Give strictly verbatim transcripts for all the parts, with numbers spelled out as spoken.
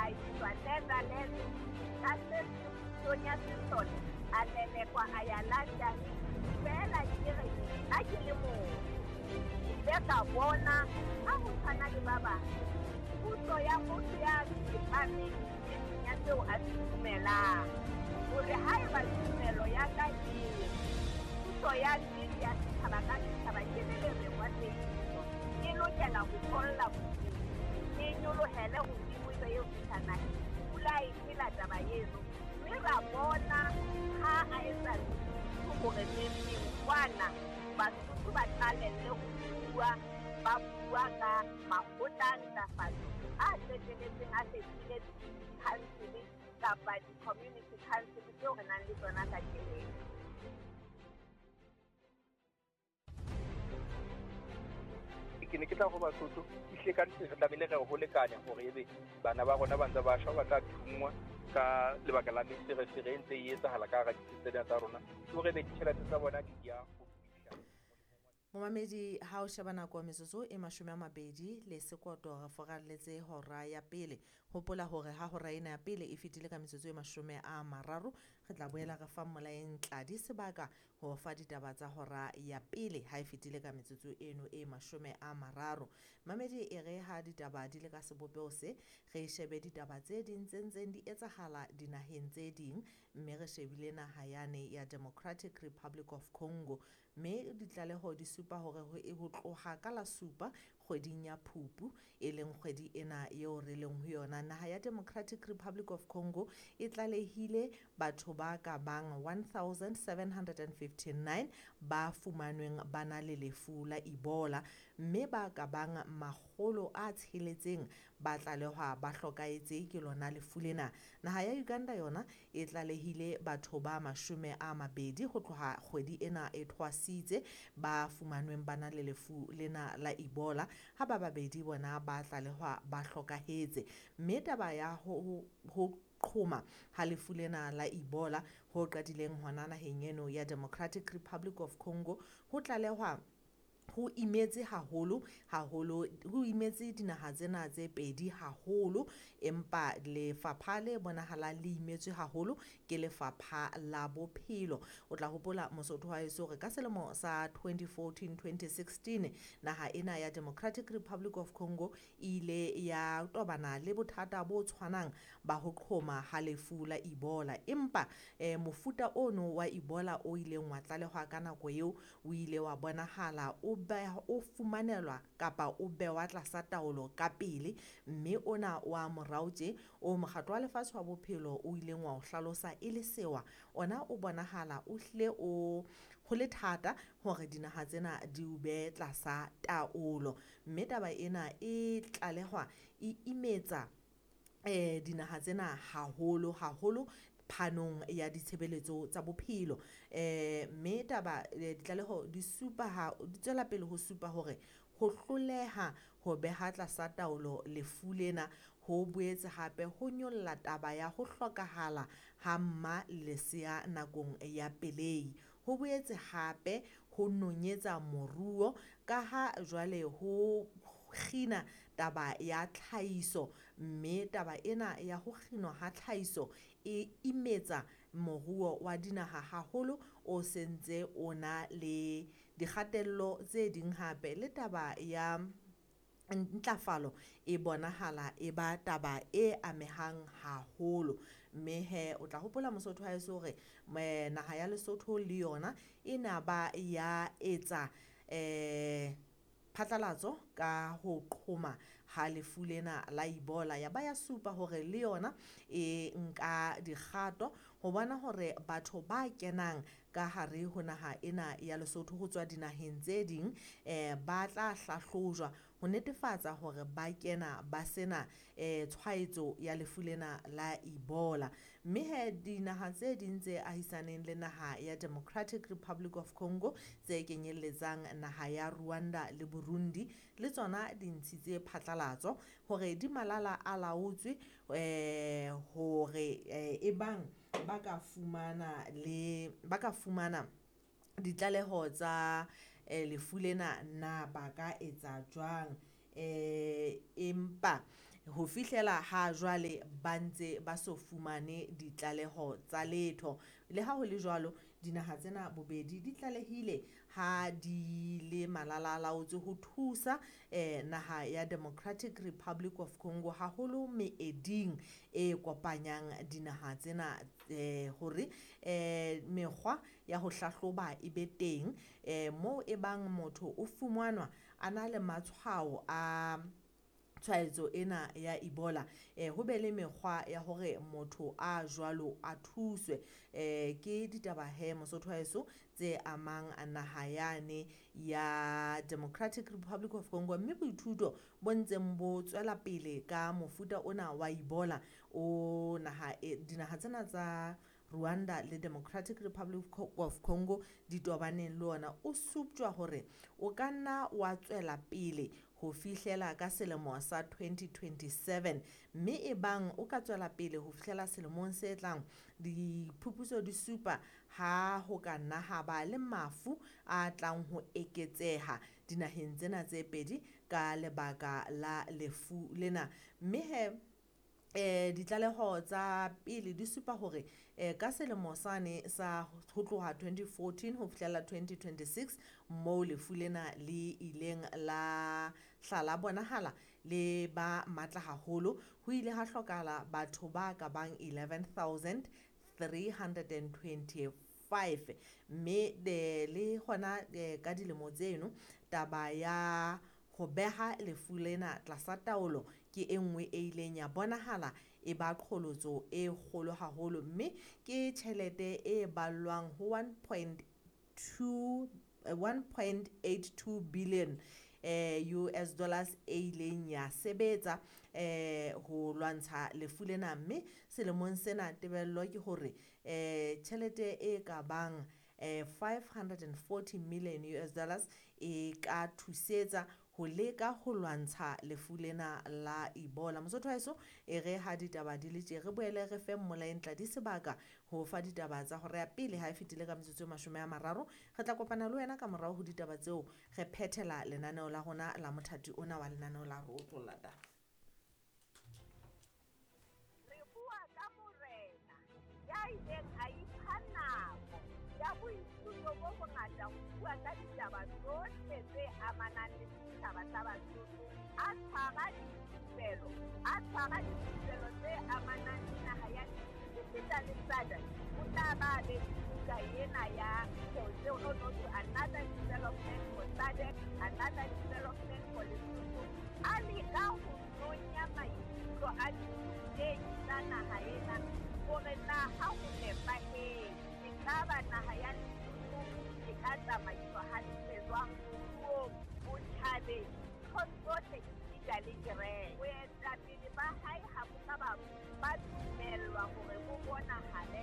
a iswa Netherlands ka se pusong ya sesole a lelekwa a ya London. Feela ke re nna ke le mong ke ile ka bona ha ho tshwana le ba bang puso ya motho ya tsepameng nneteng ya seo a se dumelang, hore haeba tumelo ya ka e puso ya nnete ya setjhaba ka setjhaba ke le lereng wa tsebiso e lokela ho tholla bophelo, e nyolohele hodimo ebe eo fihla naheng. Pula e phela taba eno, mme ra bona ha a etsa hore neng kwana Basotho ba qalelle ho bua, ba bua ka makgotla a ntlafatso a qetelletseng a fetohile di-council kapa di-community council tseo re nang le tsona kajeno. Ke ne ke tla ho Basotho ehlile ka nnete re tlamehile re ho lekanya hore ebe bana ba rona ba ntse ba shwa, ba tla thunngwa ka lebaka la meferefere e ntse e etsahala ka hara ditsi tsena tsa rona, ke hore ebe ditjhelete tsa bona di ya ho fihla. Momamedi, ha o sheba nako metsotso e mashome a mabedi le sekoto re foralletse hora ya pele. Hopola hore ha hora ena ya pele e fetile ka metsotso e mashome a mararo, re tla boela re fa Mmolaeng Tladi sebaka ho fa ditaba tsa hora ya pele ha e fetile ka metsotso eno e mashome a mararo. Mamedi, e re ha ditaba di le ka sebopeho se, re shebe ditaba tse ding tse ntseng di etsahala dinaheng tse ding, mme re shebile naha yane ya Democratic Republic of Congo, mme ditlaleho di supa hore ho e ho tloha ka la supa kgweding ya Phupu, e leng kgwedi ena eo re leng ho yona, naha ya Democratic Republic of Congo e tlalehile batho ba ka bang one thousand seven hundred and fifty-nine ba fumanweng ba na le lefu la Ebola, mme ba ka bang makgolo a tsheletseng ba tlalehwa ba hlokahetse ke lona lefu lena. Naha ya Uganda yona e tlalehile batho ba mashome a mabedi ho tloha kgwedi ena e thwasitse ba fumanweng ba na le lefu lena la Ebola, ha ba babedi bona ba tlalehwa ba hlokahetse. Mme taba ya ho, ho qhoma ha lefu lena la Ebola ho qadileng hona naheng eno ya Democratic Republic of Congo ho tlalehwa ho imetse haholo, haholo, ho imetse dinaha tsena tse pedi haholo, empa lefapha le bonahalang le imetswe haholo ke lefapha la bophelo. O tla hopola Mosotho wa heso hore ka selemo sa twenty fourteen twenty sixteen naha ena ya Democratic Republic of Congo e ile ya tobana le bothata bo tshwanang ba ho qhoma ha lefu la Ebola, empa eh, mofuta ono wa Ebola o ileng wa tlalehwa ka nako eo o ile wa bonahala o ba o fumanelwa kapa o bewa tlasa taolo ka pele, mme ona wa morao tje o mokgatlo wa lefatshe wa bophelo o ileng wa o hlalosa e le sewa, ona o bonahala o hlile o ho le thata hore dinaha tsena di o behe tlasa taolo. Mme taba ena e tlalehwa e imetsa eh dinaha tsena haholo haholo phanong ya ditshebeletso tsa bophelo. Eh mme taba ditlaleho di supa ha di tswela pele ho supa hore ho hloleha ho beha tlasa taolo lefu lena ho boetse hape ho nyolla taba ya ho hlokahala ha mma lesea nakong ya pelehi. Ho boetse hape ho nonyetsa moruo ka ha jwale ho kgina taba ya tlhahiso, mme taba ena ya ho kginwa ha tlhahiso e imetsa moruo wa dinaha haholo o sentse o na le dikgatello tse ding hape. Le taba ya ntlafalo e bonahala e ba taba e amehang haholo. Mme he o tla hopola Mosotho wa heso hore naha ya Lesotho le yona e na ba ya etsa eh phatlalatso ka ho qhoma ha lefu lena la Ebola, ya ba ya supa hore le yona e nka dikgato ho bona hore batho ba kenang ka hare ho naha ena ya Lesotho ho tswa dinaheng tse ding eh ba tla hlahlojwa ho netefatsa hore ba kena ba sena eh tshwaetso ya lefu lena la Ebola. Mme he dinaha tse ding tse ahisaneng le naha ya Democratic Republic of Congo tse kenyelletsang naha ya Rwanda le Burundi le tsona di ntshitse phatlalatso hore di malala a laotswe eh hore e bang ba ka fumana le ba ka fumana ditlaleho tsa lefu lena na ba ka etsa jwang, eh empa Ho fihlela ha jwale ba ntse ba so fumane ditlaleho tsa letho. Le ha ho le jwalo, dinaha tsena bobedi di tlalehile ha di le malalalaotswe ho thusa eh, naha ya Democratic Republic of Congo haholo meeding e kopanyang dinaha tsena eh, hore eh, mekgwa ya ho hlahloba e be teng eh, moo e bang motho o fumanwa a na le matshwao a tshwaetso ena ya Ebola eh ho be le mekgwa ya hore motho a jwalo a thuswe. Eh ke ditaba he Mosotho wa heso tse amang naha yane ya Democratic Republic of Congo, mme boithuto bo ntseng bo tswela pele ka mofuta ona wa Ebola o naha e, dinaha tsena tsa Rwanda le Democratic Republic of Congo di tobaneng le ona o suptjwa hore o ka nna wa tswela pele ho fihlela ka selemo sa twenty twenty-seven, mme e bang o ka tswela pele ho fihlela selemong se tlang diphuputso di supa ha ho ka nna ha ba le mafu a tlang ho eketseha dinaheng tsena tse pedi ka lebaka la lefu lena. Mme he eh ditlaleho tsa pele di supa hore eh ka selemo sane sa ho tloha twenty fourteen ho fihlela twenty twenty-six moo lefu lena le ileng la hla la bonahala le ba matla haholo, ho ile ha hlokahala batho ba ka bang eleven thousand three hundred and twenty-five. Mme de le hona ka dilemo tseno taba ya ho beha lefu lena tlasa taolo ke e nngwe e ileng ya bonahala e ba qholotso e kgolo haholo, mme ke tjhelete e ballwang ho one point two, one point eight two billion eh U S dollars e ileng ya sebetsa eh ho lwantsha lefu lena. Mme selemong sena tebello ke hore eh tjhelete e ka bang eh five hundred and forty million U S dollars e ka thusetsa ho leka ho lwantsha lefu lena la Ebola. Mosotho wa heso e re ha ditaba di le tje re boele re fe Mmolaentla di sebaka ho fa ditaba tsa hora ya pele ha e fetile ka metsotso e mashome a mararo. Re tla kopana le wena ka morao ho ditaba tseo re phethela lenaneo la rona la mothati ona wa lenaneo la Re Otlolla Taba. Re bua ka morena ya ileng a ipha nako ya boithuto bo bongata ho bua ka ditaba tsohle tse amanang le setjhaba sa Basotho, a tshwara dithupelo, a tshwara dithupelo tse amanang le naha ya esita le S A D C. O tla ba be buka ena ya tseo no no to another development for S A D C, another development for Lesotho. A leka ho nonya maikutlo a dithutehi tsa naha ena hore na ha ho nepahetse ekaba naha ya Lesotho e ka tsamaiswa hantle jwang moruong, botjhabeng, ntho tsohle esita le kereke. Boetapele ba hae ha bo ka ba ba dumellwa hore bo bonahale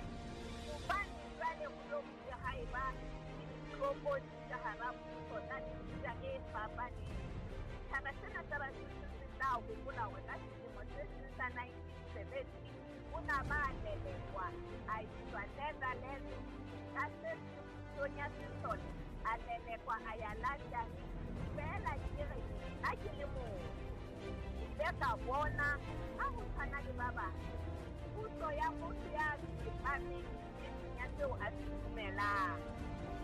hobane jwale ho lo bile ha eba le ditlokotsi ka hara mmuso tsa mefuta e fapaneng. Setjhaba sena sa Basotho se tla hopola hore ka selemo se seng sa nineteen seventy o na ba lelekwa a iswa Netherlands ka se pusong ya sesole, a lelekwa a ya London. Feela ke re ha ke le motho ke ile ka bona ha ho tshwana le ba bang puso ya motho ya tsepameng nneteng ya seo a se dumelang,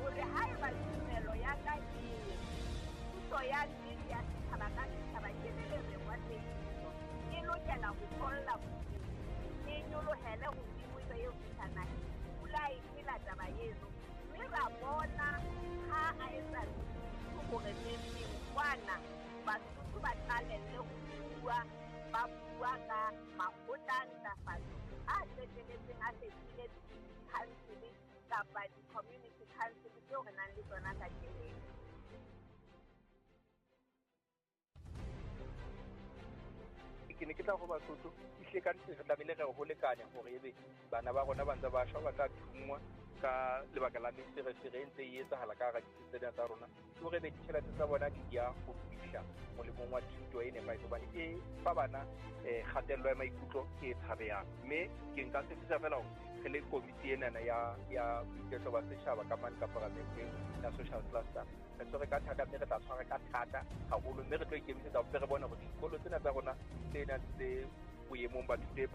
hore haeba tumelo ya ka e puso ya nnete ya setjhaba ka setjhaba ke le lereng wa teiso e lokela ho tholla bodimo, e nyolohele hodimo ebe eo fihla naheng. Pula e phela taba eno, mme ra bona ha a etsa hore neng kwana Basotho ba qalelle ho bua, ba bua ka makgotla a ntlafatso a qetelletseng a fetohile di-council kapa di-community council tseo re nang le tsona kajeno. Ke ne ke tla ho Basotho ehlile ka nnete re tlamehile re ho lekanya hore ebe bana ba rona ba ntse ba shwa ba tla thunngwa ka lebaka la meferefere e ntse e etsahala ka hara ditsi tsena tsa rona, ke hore ebe ditjhelete tsa bona di ya ho fihla molemong wa thuto e nepahetseng, hobane e fa bana um kgatello ya maikutlo e tshabehang. Mme ke nka tshepisa fela hore re le komiti enana ya ya boiketlo ba setjhaba ka mane ka paramenteng ya social cluster, re tshwere ka thata, mme re tla tshwara ka thata haholo, mme re tlo ikemisetsa hore re bone hore dikolo tsena tsa rona tse nang tse boemong ba thuto e